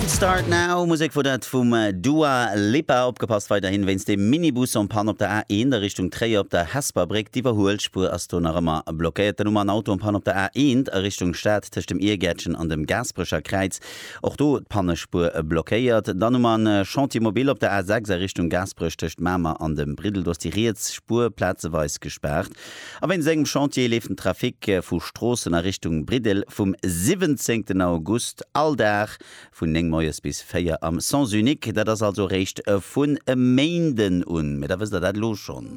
Don't Start Now, Musek wor dat vum Dua Lipa. Opgepasst weiderhin wéinst dem Minibus en panne op der A1 a Richtung Tréier op der Hesper Bréck. D'Iwwerhuelspuer ass do nach ëmmer blockéiert. Dann hu mer en Auto en panne op der A1 a Richtung Stad tëscht dem Iergäertchen an dem Gaasperecher Kräiz. Och do d'Pannespuer blockéiert. Dann hu mer en Chantier mobile op der A6 a Richtung Gaasperech tëscht Mamer an dem Briddel. Do ass déi riets Spuer plazeweis gespaart. A wéinst engem Chantier leeft den Trafic vu Stroossen a Richtung Briddel vum 17 August all Dag vun 9 moies bis 4 am Sens unique. Dat ass also eréischt vun e Méinden un. Mee da wësst der dat elo schonn.